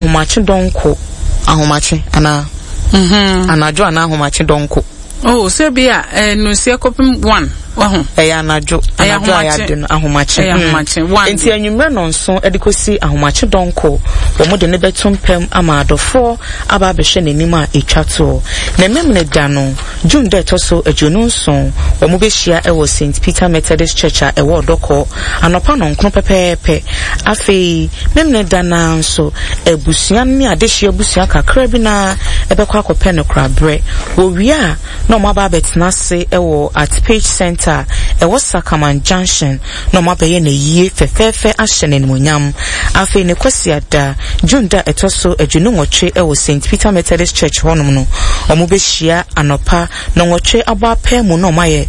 Ahomakye dɔnko, ahomakye anaa? Mm-hmm. Anadwo anaa ahomakye dɔnko? Oh, sɛ bi a eh, nonsia kɔpem one, wahu. Ɛyɛ anadwo, anadwo a yɛade no, ahomakye. Ɛyɛ mm. ahomakye, one. Nti anwummerɛ nɔnso de kɔsi ahomakye dɔnko, wɔn de no bɛto mpam ama adɔfoɔ aba abɛhwɛ n'anim a ɛtwa toɔ. Na Memene da no, June da ɛtɔ so 27, wɔn bɛhyia wɔ St. Peter Methodist Church a ɛwɔ Ɔdɔkɔ, anɔpa nɔnkron pɛpɛɛpɛ. Afei, Memeneda no ara nso, abusua no ne adehyeɛ abusua kakra bi no ara bɛkɔ akɔpɛ no koraberɛ. Wɔwie a, na wɔaba abɛtena ase wɔ At Page Centre a ɛwɔ Sakaman Junction na wɔabɛyɛ no ayie fɛfɛɛfɛ ahyɛ no animuonyam. Afei ne Kwasiada, June da a ɛtɔ so 28 wɔ St. Peter Methodist Church hɔnom no, wɔbɛhyia anɔpa Nnɔnwɔtwe abɔ apaamu na wɔayɛ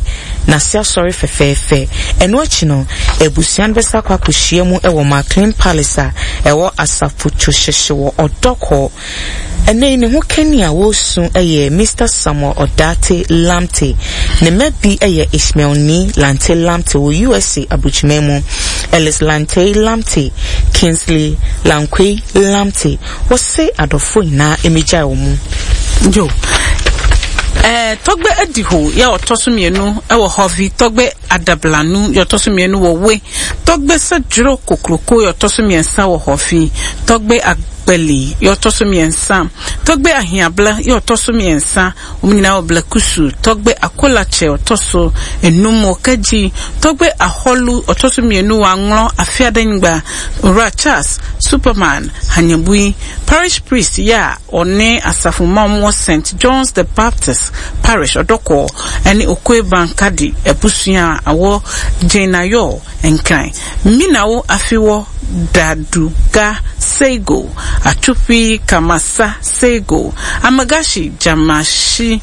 N'ase asɔre fɛfɛɛfɛ. Ɛno akyi no, abusua no bɛsan akɔ akɔhyia mu wɔ McLean Palace a ɛwɔ Asafo-Kyohyehye wɔ Ɔdɔkɔ. Ɛnnɛ yi, ne ho kani a wɔresu yɛ Mister Samuel Odartey Lamptey. Ne mma bi yɛ Ishmael Nii Lante Lamptey wɔ USA aburokyiman mu, Ellis Lantey Lamptey, Kingsley Lankwei Lamptey, Wɔse adɔfoɔ nyinaa mmegyae wɔn mu. Yo. Eh, Tɔgbe Adiho yɛ ɔtɔ so mmienu wɔ Hɔvi, Tɔgbe Adablanu yɛ ɔtɔ so mmienu wɔ We, Tɔgbe Sɛdworo Kokroko yɛ ɔtɔ so mmiɛnsa wɔ Hɔvi, Tɔgbe Agbali yɛ ɔtɔ so mmiɛnsa, Tɔgbe Ahiabla yɛ ɔtɔ so mmiɛnsa, Wɔn nyinaa wɔ Blekusu, Tɔgbe Akolakyɛ ɔtɔ so nnum wɔ Kadzi, Tɔgbe Ahɔlu ɔtɔ so mmienu wɔ Anglɔ, Afeadanyigba, Owura Charles, Superman, Hanyabui, Parish Priest yɛ a ɔne asafo mma a wɔwɔ Saint John's the Baptist Parish, Ɔdɔkɔɔ, ne Okoe Bankadi abusua a wɔ Gyenayor, Nkran. Minawo Afiwɔ Daduga Seigo Atupi Kamasa Seigo Amagashi Jamashi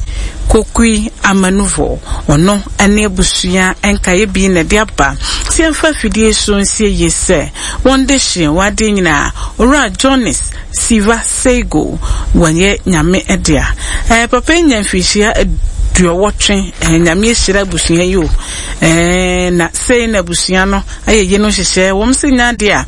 Kokui Amanuvɔ Ɔno ne abusua nkaeɛ bi na ɛde aba sɛ yɛmfa afidie so nsie yie sɛ wɔn dehyeɛ wɔ adeɛ nyinaa Owura Jonis Siva Seigo wɔyɛ Nyame dea eh, Papa yi nya mfirihyia aduɔwɔtwe eh, Nyame ahyira abusua yi o eh, na Sei na abusua no ayɛ yeinom nhyehyɛɛ, wɔn se nya adeɛ a,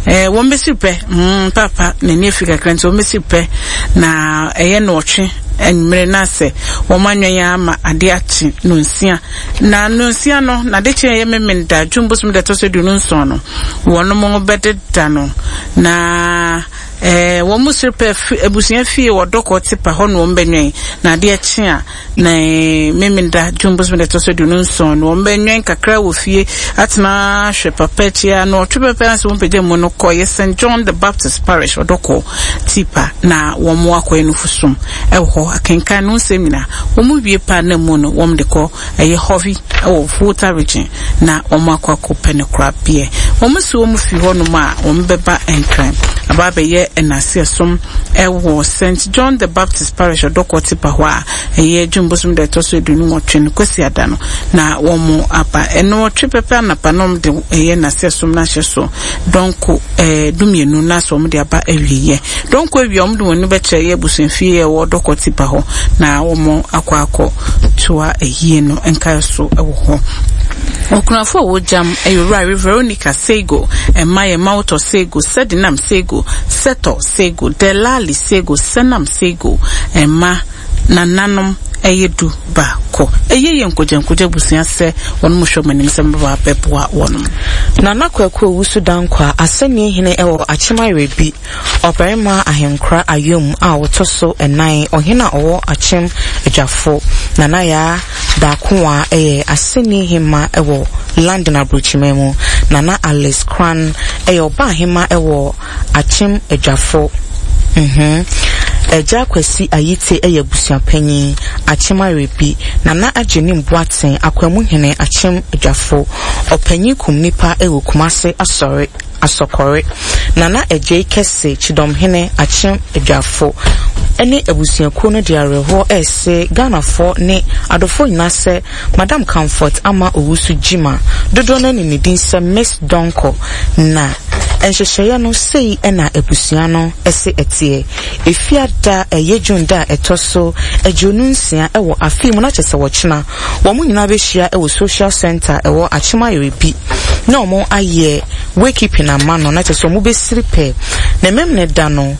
eh, wɔn bɛsiri pɛ, mm, paapa n'ani afi kakra nti wɔn bɛsiri pɛ, na ɛyɛ nnɔɔtwe anwummere na sɛ wɔn anwɛn ara ma adeɛ akye nonsia. Na nonsia no, na ade kye ɛyɛ Memenda, June bosom da ɛtɔ so 27 no, wɔn bɛdeda no, na eh, wɔn mu siri pɛ abusua fie wɔ Dɔkɔ Tipa hɔ na wɔn bɛnwɛn, na adeɛ kye a, Na Memenda, June bosome da ɛtɔ so 27 no, wɔbɛnwɛn kakra wɔ fie atena ahwɛ papa akyi ara na ɔtwe pɛpɛ ansa wɔn mu no kɔ yɛ St. John the Baptist Parish ɔdɔkɔ Tipa na wɔn akɔyɛ nufusom ɛwɔ hɔ akenkan no nsɛm nyinaa wɔn wie paa na mu no wɔn de kɔ ɛyɛ Hɔvi ɛwɔ Volta region na wɔn akɔ akɔ pɛ no kora beɛ wɔn si wɔn fi hɔ nom a wɔn bɛba Nkran aba abɛyɛ ɛnase ɛsom ɛwɔ St. John the Baptist Parish ɔdɔkɔ Tipa hɔ a Ɛyɛ June bosom da ɛtɔ so 28 no, Kwasiada no, na wɔn aba. Ɛnɔɔtwe pɛpɛ anapa na wɔn de ɛyɛ n'asɛ som no ahyɛ so dɔnko ɛɛ dumienu na asɛ wɔn de aba awieɛ. Dɔnko awie a wɔn de wɔn ani bɛkyerɛ ɛyɛ abusuafie a ɛwɔ Dɔkɔ Tipa hɔ na wɔn akɔ akɔ toa ayie no nkaeɛ so wɔ hɔ. Okunafo a wɔgyam ɛyɛ Owura Veronica Sego, ɛma yɛ Mawotɔ Sego, Sedinam Sego, Setɔ Sego, Delali Sego, Senam Sego, ɛma nananom ɛyɛ du ba kɔ. Ɛyɛ yɛ nkogyankogya abusua sɛ wɔnom hwɛ wɔn anim sɛ wɔbɛba abɛboa wɔnom. Nana Kwaku Owusu Dankwah, Asɛnnie Hene wɔ Akyem Awerɛbi, Ɔbarima Ahenkora Ayom a ɔtɔ so nnan, Ɔhene a ɔwɔ Akyem Adwafo, Nana Yaa Darkowaa yɛ Asɛnnie Hemma wɔ London Aburokyiman mu, Nana Alice Kran yɛ Ɔbaahemma wɔ Akyem Adwafo mhm Agya Kwasi Ayite yɛ abusuapanyin, Akyem Arebi, Nana Agyenim Boateng, Akwamu Hene, Akyem Adwafo, Ɔpanyin Kum Nipa wɔ Kumase Asɔre, Asɔkɔre, Nana Agyei Kɛse, Kyidɔmhene, Akyem Adwafo, ne abusuakuo no de awerɛhoɔ rese Ghanafoɔ ne adɔfoɔ nyinaa sɛ Madam Comfort Ama Owusu Gyimah, dodoɔ no ara nim ne din sɛ Miss Donkor, na. Nhyehyɛeɛ no, sei na abusua no se ɛteɛ. Efiada a ɛyɛ June da a ɛtɔ so 26 wɔ afe yi mu, na kyerɛ sɛ ɔkyena, wɔn nyinaa bɛhyia wɔ Social Centre a ɛwɔ Akyem Ayerebi na wɔn ayɛ wakekeeping ama no, na kyerɛ sɛ wɔn bɛsiri pɛ. Na Memeneda no.